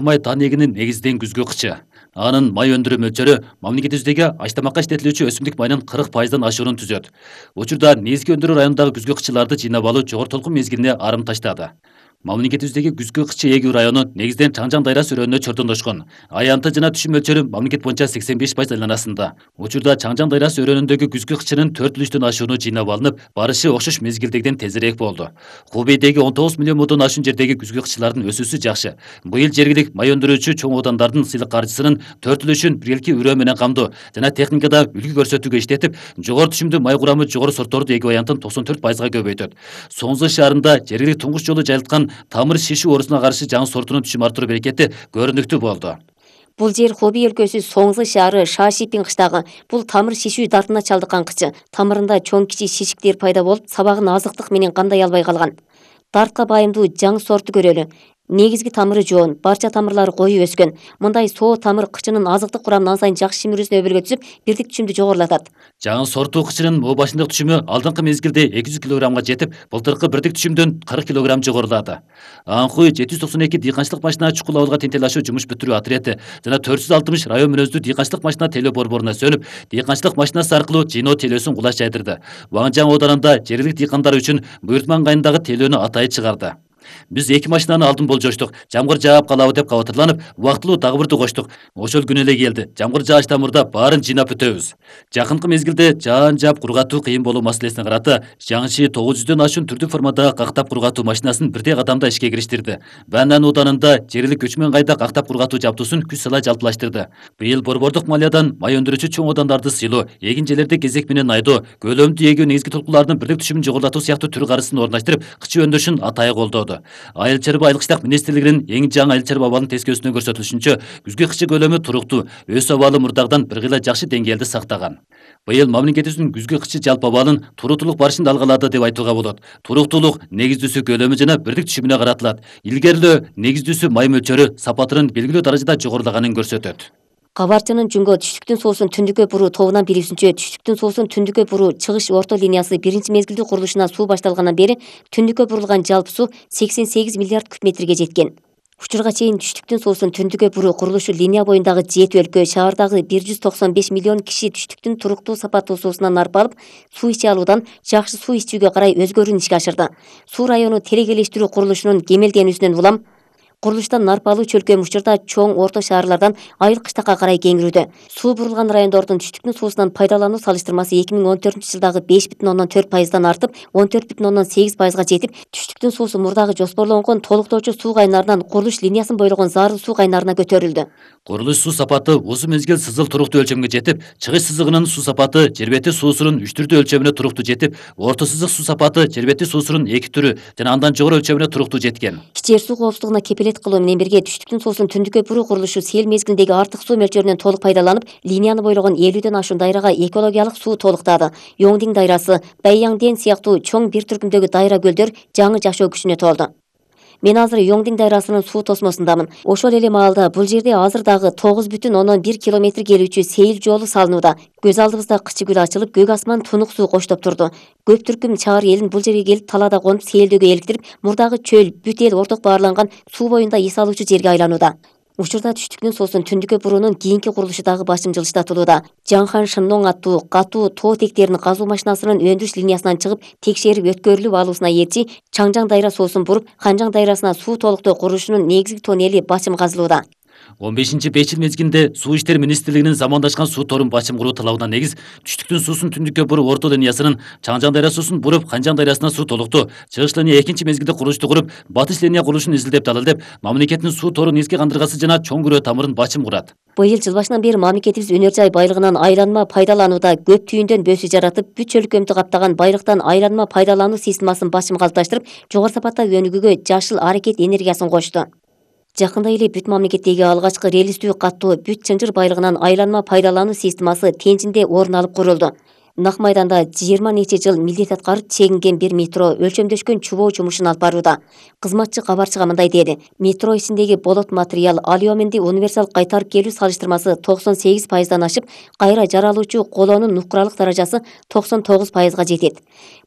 Май таанегинин негизден күзгү кычы. Анын май өндүрүү мөлчөрү мамлекетибиздеги ач-тамакка иштетилүүчү өсүмдүк майынын 40%дан ашуурун түзөт. Учурда негизги өндүрүү районундагы күзгү кычыларды жыйнап алуу жогору толкун мезгилине арым таштады. Мамлекетибиздеги күзгү кычы эгүү району негизден Чаңжаң дайрасы өрөөнүнө чордондошкон. Аянты жана түшүм мөлчөрү мамлекет боюнча 85% айланасында. Учурда Чаңжаң дайрасы өрөөнүндөгү күзгү кычынын 4,3 ашууну жыйнап алынып, барышы окшош мезгилдегиден тезирээк болду. Хубейдеги 19 миллион мудан ашуун жердеги күзгү кычылардын өсүүсү жакшы. Быйыл жергилик май өндүрүүчү чоң оодандардын сыйлык каржысынын 4,3-ün биргелки үрөө менен камдоо жана техникада үлгү көрсөтүүгө иштетип, жогору түшүмдүү май курамы жогору сортторду эгүү аянтын 94%га көбөйтөт. Соңзы шаарында жергилик туңгуч жолу жайылткан тамыр шишүү оорусуна каршы жаңы сортунун түшүм артыруу берекети көрүнүктүү болду. Бул жер Хубей өлкөсү Соңзы шаары Шашипин кыштагы. Бул тамыр шишүү дартына чалдыккан кычы. Тамырында чоң кичи шишиктер пайда болуп, сабагын азыктык менен кандай албай калган. Дартка байымдуу жаңы сорту көрөлү. Негизги тамыры жоон, барча тамырлары коюу өскөн. Мындай соо тамыр кычынын азыктык курамын ан сайын жакшы шимирүүсүнө өбөлгө түзүп, бирдик түшүмдү жогорулатат. Жаңы сорту кычынын о башындык түшүмү алдыңкы мезгилде 200 кг жетип, былтыркы бирдик түшүмдөн 40 кг жогорулады. Анхуй 792 дыйканчылык машина чукул абылга тентел ашуу жумуш бүтүрүү отряды жана 460 район мүнөздүү дыйканчылык машина телөө борборуна сөнүп, дыйканчылык машинасы аркылуу жыйноо телөөсүн кулаш жайдырды. Ваңжаң ооданында жергилик дыйкандар үчүн буйртма ыңгайындагы телөөнү атайы чыгарды. Биз 2 машинаны алдын болжоштук. Жамгыр жаап калабы деп кабатырланып, убактылуу дагы бирди коштук. Ошол күнү эле келди. Жамгыр жаачтан мурда баарын жыйнап бүтөбүз. Жакынкы мезгилде жаан жаап кургатуу кыйын болуу маселесине карата жаңычы 900дөн ашуун түрдүү формадагы кактап кургатуу машинасын бирдей кадамда ишке кириштирди. Банан ооданында жергилик көчмөн кайда кактап кургатуу жабдуусун күз сала жалпылаштырды. Быйыл борбордук малиядан май өндүрүүчү чоң оодандарды сыйлоо, эгин жерлерди кезек менен айдоо, көлөмдүү эгүү негизги толкуулардын бирдик түшүмүн жогорулатуу сыяктуу түр карышын орундаштырып, кычы өндүрүшүн атайы колдоду. Айыл чарба айылык иштак министрлигинин эң жаңы айыл чарба абалынын тескөөсүнө көрсөтүлүшүнчө, күзгү кычы көлөмү туруктуу, өс абалы мурдагыдан бир кыйла жакшы деңгээлди сактаган. Быйыл мамлекетибиздин күзгү кычы жалпы абалын туруктуулук барышын алгалады деп айтууга болот. Туруктуулук негиздүүсү көлөмү жана бирдик түшүмүнө каратылат. Илгерилөө негиздүүсү май мөлчөрү сапатынын белгилүү даражада жогорулаганын көрсөтөт. Кабарчынын Жүнгө түштүктүн суусун түндүккө буруу тобунан билүүсүнчө, түштүктүн суусун түндүккө буруу чыгыш орто линиясы биринчи мезгилдүү курулушунан суу башталгандан бери түндүккө бурулган жалпы суу 88 миллиард куб метрге жеткен. Учурга чейин түштүктүн суусун түндүккө буруу курулушу линия боюндагы 7 өлкө, шаардагы 195 миллион киши түштүктүн туруктуу сапаттуу суусунан нарп алып, суу иче алуудан жакшы суу ичүүгө карай өзгөрүүнү ишке ашырды. Суу району терегелештирүү курулушунун кемелденүүсүнөн улам курулуштан нарп алуу чөлкөм учурда чоң орто шаарлардан айыл кыштакка карай кеңирүүдө. Суу бурулган райондордун түштүктүн суусунан пайдалануу салыштырмасы 2014-жылдагы 5,4%дан артып, 14,8%га жетип, түштүктүн суусу мурдагы жоспорлонгон толуктоочу суу кайнарынан курулуш линиясын бойлогон зарыл суу кайнарына көтөрүлдү. Курулуш суу сапаты uzun мезгил сызыл туруктуу өлчөмгө жетип, чыгыш сызыгынын суу сапаты жер бети суусунун 3 түрдүү өлчөмүнө туруктуу жетип, орто сызык суу сапаты жер бети суусунун 2 түрү жана андан жогору өлчөмүнө туруктуу жеткен. Жер суу коопсуздугуна кепилет кылуу менен бирге түштүктүн суусун түндүккө буруу курулушу сел мезгилиндеги артык суу мөлчөрүнөн толук пайдаланып, линияны бойлогон 50дөн ашуун дайрага экологиялык суу толуктады. Йоңдиң дайрасы, Байяңден сыяктуу чоң бир түркүмдөгү дайра көлдөр жаңы жашоо күчүнө толду. Мен азыр Йоңдиң дайрасынын суу тосмосундамын. Ошол эле маалда бул жерде азыр дагы 9,1 километр келүүчү сейил жолу салынууда. Көз алдыбызда кычы гүл ачылып, көк асман тунук суу коштоп турду. Көп түркүм чаар элин бул жерге келип талаада конуп сейилдөөгө эликтирип, мурдагы чөл, бүт эл орток баарланган суу боюнда эс алуучу жерге айланууда. Учурда түштүктүн суусун түндүккө буруунун кийинки курулушу дагы башым жылыштатылууда. Жаңхан Шынноң аттуу катуу тоо тектерин казуу машинасынын өндүрүш линиясынан чыгып, текшерип өткөрүлүп алуусуна эрчи Чаңжаң дайра суусун буруп, Ханжаң дайрасына суу толуктоо курулушунун негизги тоннели бачым казылууда. 15-5 жыл мезгилинде Суу иштер министрлигинин замандашкан суу торун бачым куруу талабына негиз түштүктүн суусун түндүккө буруу орто линиясынын Чаңжаң дайра суусун буруп Ханжаң дайрасына суу толуктоо, чыгыш линия экинчи мезгилде курулушту куруп, батыш линия курулушун изилдеп далилдеп, мамлекеттин суу торун эске кандыргасы жана чоң күрөө тамырын бачым курат. Быйыл жыл башынан бери мамлекетибиз өнөр жай байлыгынан айланма пайдаланууда көп түйүндөн бөөсү жаратып, бүт чөлкөмдү каптаган байлыктан айланма пайдалануу системасын бачым калыпташтырып, жогору сапатта өнүгүүгө жашыл аракет энергиясын кошту. Жакында эле бүт мамлекеттеги алгачкы релистүү каттуу бүт чынжыр байлыгынан айланма пайдалануу системасы Тенжинде орун алып курулду. Нак майданда 20 нече жыл милдет аткарып чегинген бир метро өлчөмдөшкөн чубоо жумушун алып барууда. Кызматчы кабарчыга мындай деди: метро ичиндеги болот материал алюминий универсал кайтарып келүү салыштырмасы 98%дан ашып, кайра жаралуучу колонун нукуралык даражасы 99%га жетет.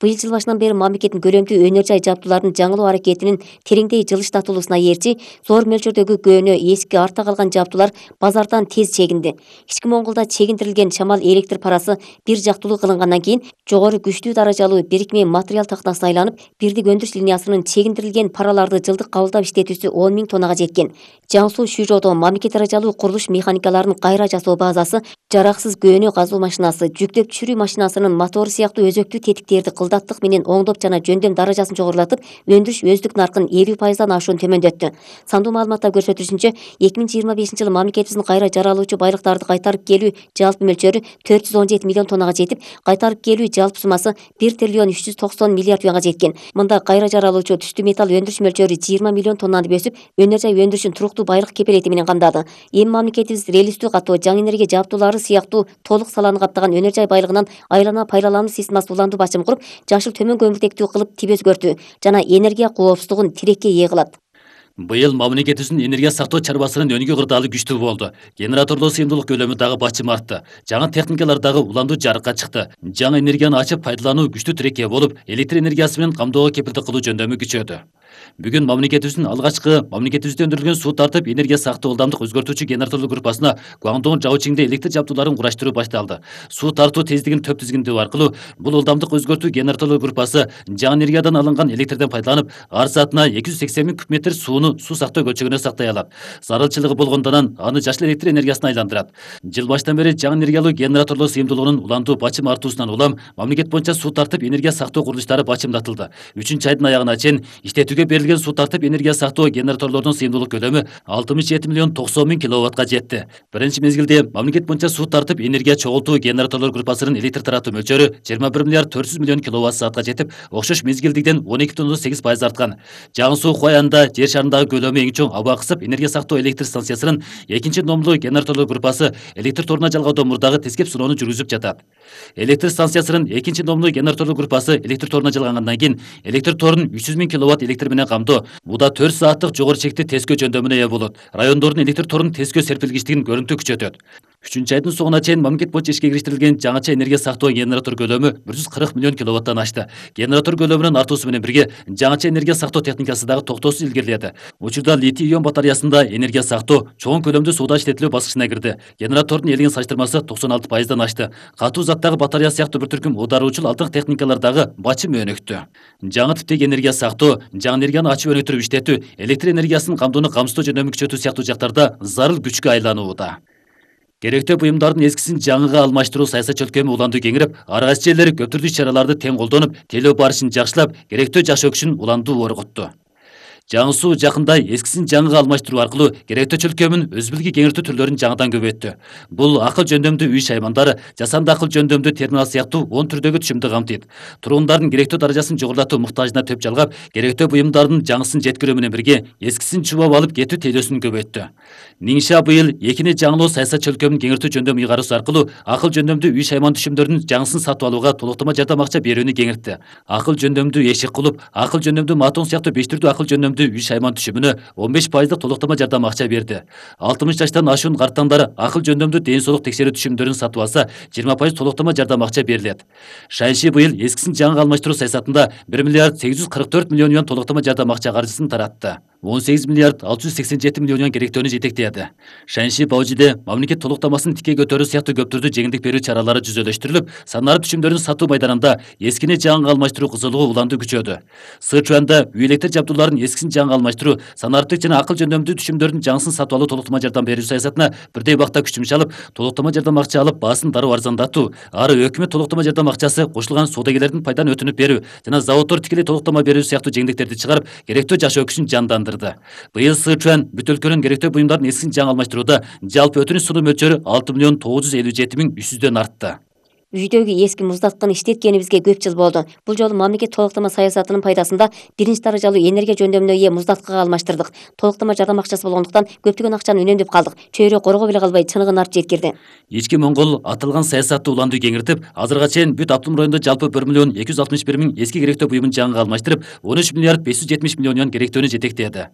Быйыл жыл башынан бери мамлекеттин көлөмдүү өнөр жай жабдууларын жаңылоо аракетинин тереңдей жылыштатылуусуна ээрчи зор мөлчөрдөгү көөнө эски артта калган жабдуулар базардан тез чегинди. Ички Монголдо чегиндирилген чамал электр парасы бир жактылуу кылынгандан кийин жогору күчтүү даражалуу бирикме материал тактасына айланып, бирдик өндүрүш линиясынын чегиндирилген параларды жылдык кабылдап иштетүүсү 10 000 тоннага жеткен. Жаңсуу Шүйжодо мамлекет даражалуу курулуш механикаларынын кайра жасоо базасы, жараксыз көөнө казуу машинасы, жүктөп түшүрүү машинасынын мотору сыяктуу өзөктүү тетиктерди кылдаттык менен оңдоп жана жөндөм даражасын жогорулатып, өндүрүш өздүк наркын 50%дан ашуун төмөндөттү. Сандуу маалыматтар көрсөтүшүнчө, 2025 жылы мамлекетибиздин кайра жаралуучу байлыктарды кайтарып келүү жалпы мөлчөрү 417 миллион тоннага жетип, кайтарып келүү жалпы суммасы 1 триллион 390 миллиард юанга жеткен. Мында кайра жаралуучу түштүү металл өндүрүш мөлчөрү 20 миллион тоннаны бөсүп, өнөр жай өндүрүшүн туруктуу байлык кепилети менен камдады. Эми мамлекетибиз релистүү катоо, жаңы энергия жабдуулары сыяктуу толук саланы каптаган өнөр жай байлыгынан айлана пайдалануу системасы уланду бачым куруп, жашыл төмөн көмүртектүү кылып тип өзгөртүү жана энергия коопсуздугун тирекке ээ кылат. Быйыл мамлекетибиздин энергия сактоо чарбасынын өнүгүү кырдаалы күчтүү болду. Генераторлоо сыйымдуулук көлөмү дагы бачым артты. Жаңы техникалар дагы уланду жарыкка чыкты. Жаңы энергияны ачып пайдалануу күчтүү тирекке болуп, электр энергиясы менен камдоого кепилдик кылуу жөндөмү күчөдү. Бүгүн мамлекетибиздин алгачкы мамлекетибизде өндүрүлгөн суу тартып энергия сактоо ылдамдык өзгөртүүчү генераторлук группасына Гуандун Жаочиңде электр жабдууларын кураштыруу башталды. Суу тартуу тездигин төп тизгиндөө аркылуу бул ылдамдык өзгөртүү генераторлук группасы жаңы энергиядан алынган электрден пайдаланып, ар саатына 280 000 куб метр сууну суу сактоо көлчөгүнө сактай алат. Зарылчылыгы болгондон аны жашыл электр энергиясына айландырат. Жыл баштан бери жаңы энергиялуу генераторлор сыйымдуулугунун уланду бачым артуусунан улам мамлекет боюнча суу тартып энергия сактоо курулуштары бачымдатылды. 3-айдын аягына чейин иштетүүгө берилген суу тартып энергия сактоо генераторлордун сыйымдуулук көлөмү 67 миллион 90 000 киловаттка жетти. Биринчи мезгилде мамлекет боюнча суу тартып энергия чогултуу генераторлор группасынын электр таратуу мөлчөрү 21 миллиард 400 миллион киловатт саатка жетип, окшош мезгилдигден 12,8% арткан. Жаңы суу Хуаянда жер шарындагы көлөмү эң чоң аба кысып энергия сактоо электр станциясынын экинчи номдуу генераторлор группасы электр торуна жалгаудо мурдагы тескеп сыноону жүргүзүп жатат. Электр станциясынын экинчи номдуу генераторлор группасы электр торуна жалгангандан кийин электр торун 300 000 киловатт электр менен камдоо буда 4 сааттык жогору чекти тескөө жөндөмүнө ээ болот. Райондордун электр торунун тескөө серпилгичтигин көрүнтүү күчөтөт. 3-айдын соңуна чейин мамлекет боюнча ишке кириштирилген жаңыча энергия сактоо генератор көлөмү 140 миллион киловаттан ашты. Генератор көлөмүнүн артуусу менен бирге жаңыча энергия сактоо техникасы дагы токтоосуз илгериледи. Учурда литий-ион батареясында энергия сактоо чоң көлөмдүү сууда иштетилүү баскычына кирди. Генератордун элген салыштырмасы 96%дан ашты. Катуу заттагы батарея сыяктуу бир түркүм оодаруучул алдыңкы техникалар дагы бачым өнүктү. Жаңы типтеги энергия сактоо, жаңы энергияны ачып өнүктүрүп иштетүү, электр энергиясынын камдоону камсыздоо жөндөмү күчөтүү сыяктуу жактарда зарыл күчкө айланууда. Керектүү буюмдардын эскисин жаңыга алмаштыруу саясат чөлкөмү уланду кеңирип, ар кайсы жерлер көп түрдүү иш-чараларды тең колдонуп, тейлөө барышын жакшылап, керектүү жашоо күчүн уланду орготту. Жаңы суу жакында эскисин жаңыга алмаштыруу аркылуу керектүү чөлкөмүн өзбилги кеңиртүү түрлөрүн жаңыдан көбөйттү. Бул акыл жөндөмдүү үй шаймандары, жасанды акыл жөндөмдүү терминал сыяктуу 10 түрдөгү түшүмдү камтыйт. Турундардын керектүү даражасын жогорулатуу муктажына төп жалгап, керектүү буюмдардын жаңысын жеткирүү менен бирге эскисин чубап алып кетүү тейлөөсүн көбөйттү. Ниңша быйыл экини жаңылоо саясат чөлкөмүн кеңиртүү жөндөмү ыйгарысы аркылуу акыл жөндөмдүү үй шайман түшүмдөрдүн жаңысын сатып алууга толуктама жардам акча берүүнү кеңиртти. Акыл жөндөмдүү эшик кулуп, акыл жөндөмдүү матон сыяктуу 5 түрдүү акыл жөндөмдүү үй шайман түшүмүнө 15% толуктама жардам акча берди. 60 жаштан ашуун карттандар акыл жөндөмдүү ден соолук текшерүү түшүмдөрүн сатып алса, 20% толуктама жардам акча берилет. Шайши быйыл эскисин жаңыга алмаштыруу саясатында 1 миллиард 844 миллион юан толуктама жардам акча каржысын таратты. 18 миллиард 687 миллион юан керектөөнү жетектеди. Шанши Баужиде мамлекет толуктамасын тике көтөрүү сыяктуу көп түрдүү жеңилдик берүү чаралары жүзөлөштүрүлүп, санарип түшүмдөрүн сатуу майданында эскини жаңыга алмаштыруу кызылыгы уланду күчөдү. Сычуанда үй электр жабдууларын эскисин жаңыга алмаштыруу, санариптик жана акыл жөндөмдүү түшүмдөрдүн жаңысын сатып алуу толуктама жардам берүү саясатына бирдей убакта күч чалып, толуктама жардам акча алып, баасын дароо арзандатуу, ары өкмөт толуктама жардам акчасы кошулган соодагерлердин пайданы өтүнүп берүү жана заводдор тикелей толуктама берүү сыяктуу жеңилдиктерди чыгарып, керектүү жашоо күчүн жандандырды. Быйыл Сычуан бүт өлкөнүн керектүү буюмдардын эскисин жаңы алмаштырууда жалпы өтүнүч сунуу мөлчөрү 6 миллион 957 миң 300дөн артты. Үйдөгү эски муздатканы иштеткенибизге көп жыл болду. Бул жолу мамлекет толуктама саясатынын пайдасында биринчи даражалуу энергия жөндөмүнө ээ муздаткага алмаштырдык. Толуктама жардам акчасы болгондуктан көптөгөн акчаны үнөмдөп калдык. Чөйрө коргоо беле калбай чыныгын артып жеткирди. Ички Моңгол аталган саясатты уланды кеңиртип, азырга чейин бүт Автоном районунда жалпы 1,261,000 эски керектөө буюмун жаңыга алмаштырып, 13,570,000,000 керектөөнү жетектеди.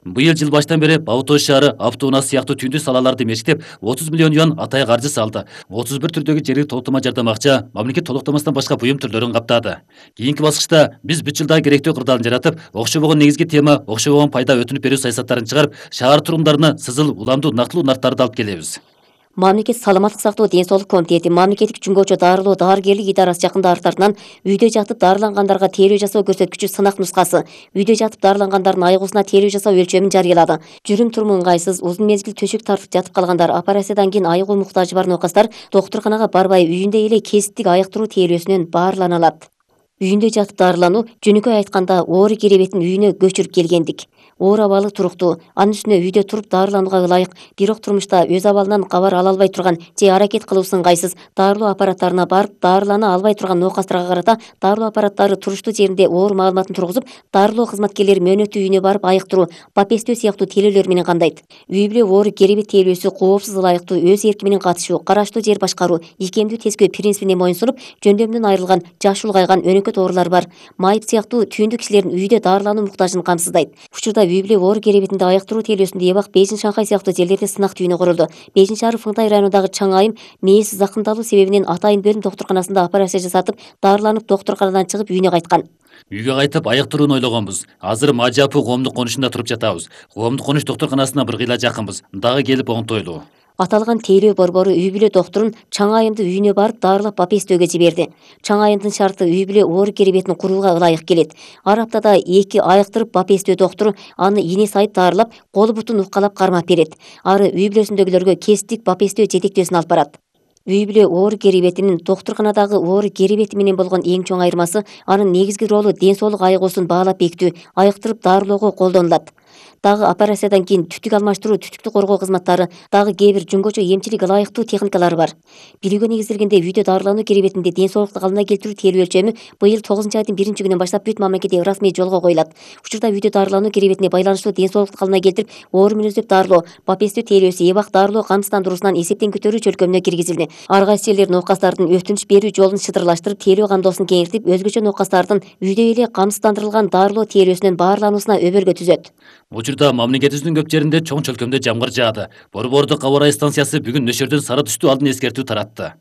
Быйыл жыл баштан бери Бабутош шаары автоунаа сыяктуу түндү салаларды мешиктеп, 30 миллион юан атайы каржы салды. 31 түрдөгү жергиликтүү толуктама жардам акча мамлекет толуктамасынан башка буюм түрлөрүн каптады. Кийинки баскычта биз бүт жылда керектөө кырдаалын жаратып, окшобогон негизги тема, окшобогон пайда өтүнүп берүү саясаттарын чыгарып, шаар тургундарына сызыл, уламдуу, нактылуу нарттарды алып келебиз. Мамлекет саламаттык сактоо ден соолук комитети, мамлекеттик жүнгөчө дарылоо дарыгерлик идарасы жакында артынан үйдө жатып дарылангандарга тейлөө жасоо көрсөткүчү сынак нускасы, үйдө жатып дарылангандардын айгуусуна тейлөө жасоо өлчөмүн жарыялады. Жүрүм туруму ыңгайсыз, узун мезгил төшөк тартып жатып калгандар, операциядан кийин айыгуу муктажы бар нокастар доктурканага барбай үйүндө эле кесиптик айыктыруу тейлөөсүнөн баарлана алат. Үйүндө жатып дарылануу жөнөкөй айтканда оору керебетин үйүнө көчүрүп келгендик. Оор абалы туруктуу, анын үстүнө үйдө туруп дарыланууга ылайык, бирок турмушта өз абалынан кабар ала албай турган же аракет кылуусу ыңгайсыз дарылоо аппараттарына барып дарылана албай турган нокастарга карата дарылоо аппараттары туруштуу жеринде оору маалыматын тургузуп, дарылоо кызматкерлери мөөнөттүү үйүнө барып айыктыруу, бапестөө сыяктуу тейлөөлөр менен кандайт. Үй бүлө оору керебет тейлөөсү коопсуз ылайыктуу өз эрки менен катышуу, караштуу жер башкаруу, ийкемдүү тескөө принцибине моюнсунуп, жөндөмүнөн айрылган, жаш улгайган өнөкөт оорулар бар. Майып сыяктуу түйүндүү кишилердин үйдө дарылануу муктажын камсыздайт. Учурда үй бүлө оору керебетинде айыктыруу тейлөөсүндө Эбак, Бейжин, Шанхай сыяктуу жерлерде сынак түйүнү курулду. Бейжин шаары Фыңтай районундагы Чаң айым мээси закымдалуу себебинен атайын бөлүм доктурканасында операция жасатып, дарыланып доктурканадан чыгып үйүнө кайткан. Үйгө кайтып айыктырууну ойлогонбуз. Азыр Мажапы коомдук конушунда туруп жатабыз. Коомдук конуш доктурканасына бир кыйла жакынбыз. Дагы келип оңтойлуу. Аталган тейлөө борбору үй бүлө доктурун Чаң айымды үйүнө барып дарылап бапестөөгө жиберди. Чаң айымдын шарты үй бүлө оору керебетин курууга ылайык келет. Ар аптада 2 айыктырып бапестөө доктуру аны ине сайып дарылап, колу бутун уккалап кармап берет. Ары үй бүлөсүндөгүлөргө кесиптик бапестөө жетектөөсүн алып барат. Үй бүлө оору керебетинин доктурканадагы оору керебети менен болгон эң чоң айырмасы анын негизги ролу ден соолук айыгуусун баалап бекитүү, айыктырып дарылоого колдонулат. Дагы операциядан кийин түтүк алмаштыруу, түтүктү коргоо кызматтары, дагы кээ бир жүнгөчө эмчилик ылайыктуу техникалары бар. Билүүгө негизделгенде үйдө дарылануу керебетинде ден соолукту калыбына келтирүү тейлөө өлчөмү быйыл 9-айдын 1-күнүнөн баштап бүт мамлекетте расмий жолго коюлат. Учурда үйдө дарылануу керебетине байланыштуу ден соолукту калыбына келтирип, оору мүнөздөп дарылоо, бапестөө тейлөөсү, Эбак дарылоо камсыздандыруусунан эсептен көтөрүү чөлкөмүнө киргизилди. Ар кайсы жерлер нокастардын өтүнүч берүү жолун шыдырлаштырып, тейлөө камдоосун кеңиртип, өзгөчө нокастардын үйдө эле камсыздандырылган дарылоо тейлөөсүнөн баарлануусуна өбөлгө түзөт. Учурда мамлекетибиздин көп жеринде чоң чөлкөмдө жамгыр жаады. Борбордук аба ырайы станциясы бүгүн нөшөрдөн сары түстүү алдын эскертүү таратты.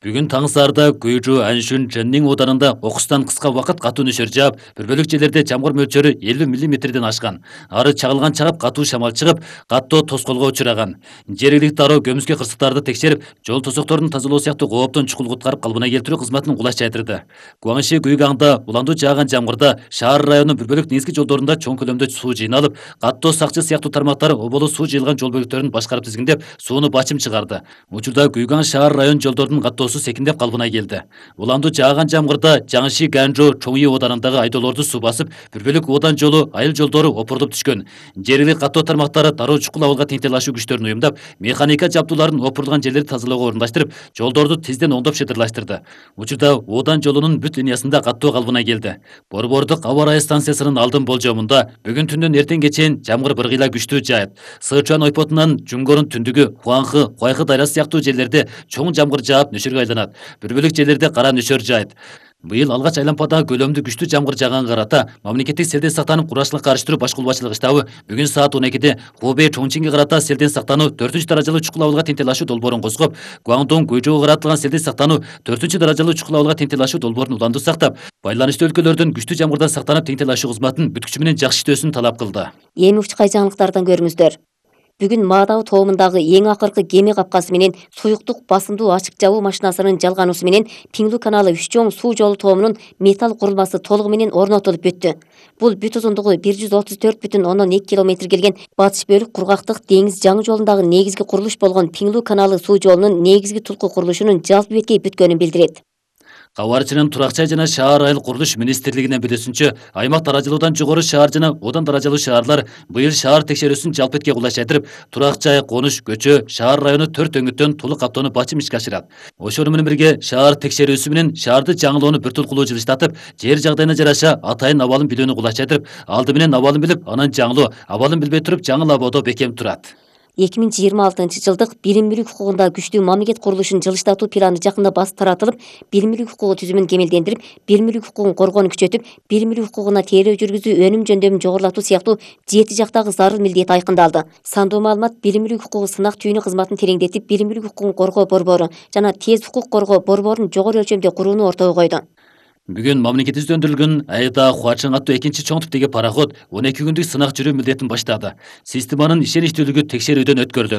Бүгүн таң саарда Гүйжү, Аншүн, Чөннин ооданында окустан кыска убакыт катуу нөшөр жаап, бир бөлүк жерлерде жамгыр мөлчөрү 50 мм ашкан. Ары чагылган чагып катуу шамал чыгып, каттоо тоскоолго учураган. Жергиликтүү дароо көмүскө кырсыктарды текшерип, жол тосокторун тазалоо сыяктуу кооптон чукул куткарып калыбына келтирүү кызматынын кулаш жайдырды. Гуаңши Гүйгаңда уландуу жааган жамгырда шаар районунун бир бөлүк негизги жолдорунда чоң көлөмдө суу жыйналып, каттоо сакчы сыяктуу тармактар оболу суу жыйылган жол бөлүктөрүн башкарып тизгиндеп, сууну бачым чыгарды. Учурда Гүйгаң шаар район жолдорунун каттоосу секиндеп калыбына келди. Уландуу жааган жамгырда Жаңши, Ганжо, Чоңи оодарындагы айдоолорду суу басып, бир бөлүк оодан жолу, айыл жолдору опурулуп түшкөн. Жергиликтүү каттоо тармактары дароо чукул абалга теңтелашуу күчтөрүн уюмдап, механика жабдууларын опурулган жерлерди тазалоого орундаштырып, жолдорду тизден оңдоп шыдырлаштырды. Учурда оодан жолунун бүт линиясында каттоо калыбына келди. Борбордук аба ырайы станциясынын алдын болжомунда бүгүн түндөн эртеңге чейин жамгыр бир кыйла күчтүү жаат. Сычуан ойпотунан Жунгорун түндүгү, Хуаңхы, Хуайхы дайрасы сыяктуу жерлерде чоң жамгыр жаап нөшөргө айланат. Бир бөлүк жерлерде кара нөшөр жаайт. Быйыл алгач айлампадагы көлөмдүү күчтүү жамгыр жааганга карата мамлекеттик селден сактанып кургачылыкка карыштыруу башкулбачылык штабы бүгүн саат 12-де Хубэй Чоңчинге карата селден сактануу 4-даражалуу чукул абалга теңтелашуу долбоорун козгоп, Гуаңдон Гүйжөөгө каратылган селден сактануу 4-даражалуу чукул абалга теңтелашуу долбоорун уландуу сактап, байланыштуу өлкөлөрдөн күчтүү жамгырдан сактанып теңтелашуу кызматын бүт күчү менен жакшы иштөөсүн талап кылды. Эми учкай жаңылыктардан көрүңүздөр. Бүгүн Маадабы тоомундагы эң акыркы кеме капкасы менен суюктук басымдуу ачык жабуу машинасынын жалгануусу менен Пиңлу каналы Үч Чоң суу жолу тоомунун металл курулмасы толугу менен орнотулуп бүттү. Бул бүт узундугу 134,2 километр келген батыш бөлүк кургактык деңиз жаңы жолундагы негизги курулуш болгон Пиңлу каналы суу жолунун негизги тулку курулушунун жалпы беткей бүткөнүн билдирет. Кабарчынын Турак жай жана шаар айыл курулуш министрлигинин билүүсүнчө, аймак даражалуудан жогору шаар жана одан даражалуу шаарлар быйыл шаар текшерүүсүн жалпы этке кулайчайтырып, турак жай, конуш, көчө, шаар району 4 өңүттөн толук каптоону бачым ишке ашырат. Ошону менен бирге шаар текшерүүсү менен шаарды жаңылоону бир тур кылуу жылыштатып, жер жагдайына жараша атайын абалын билүүнү кулайчайтырып, алды менен абалын билип, анан жаңылоо, абалын билбей туруп жаңыл абоодо бекем турат. 2026 жылдык билим мүлүк укугунда күчтүү мамлекет курулушун жылыштатуу планы жакында басып таратылып, билим мүлүк укугу түзүмүн кемелдендирип, билим мүлүк укугун коргоону күчөтүп, билим мүлүк укугуна тейлөө жүргүзүү, өнүм жөндөмүн жогорулатуу сыяктуу 7 жактагы зарыл милдет айкындалды. Сандуу маалымат билим мүлүк укугу сынак түйүнү кызматын тереңдетип, билим мүлүк укугун коргоо борбору жана тез укук коргоо борборун жогору өлчөмдө курууну ортого койду. Бүгүн мамлекетибизде өндүрүлгөн Айда Хуачың аттуу экинчи чоң типтеги пароход 12 күндүк сынак жүрүү милдетин баштады. Системанын ишеничтүүлүгү текшерүүдөн өткөрүлөт.